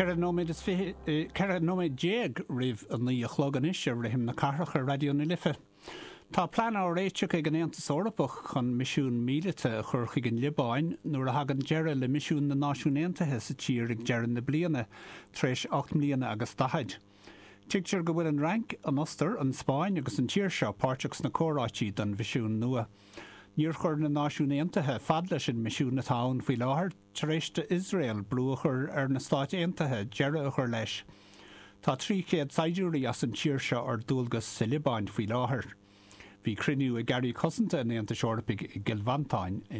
14 nóiméad is 20, 14 nóiméad roimh a 9 a chlog anois ar Rithim na Cathrach ar Raidió na Life. Tá plean á réiteach ag an Aontas Eorpach chun misiún míleata a chur chuig an Liobáin nuair a thagann deireadh le misiún na Náisiún Aontaithe sa tír ag deireadh na bliana, tar éis 8 mbliana agus 40. Tuigtear go bhfuil an Fhrainc, an Ostair, an Spáinn agus an tír seo páirteach sna comhráití don mhisiún nua. Níor chuir na Náisiúin Aontaithe fad leis an misiún atá ann faoi láthair tar éis d'Iosrael brú a chur ar na Stáit Aontaithe deireadh a chur leis. Tá 300 saighdiúirí as an tír seo ar dualgas sa Liobáin faoi láthair. Bhí cruinniú ag Airí Cosanta an Aontais Eorpaigh i gCill Mhantáin inné.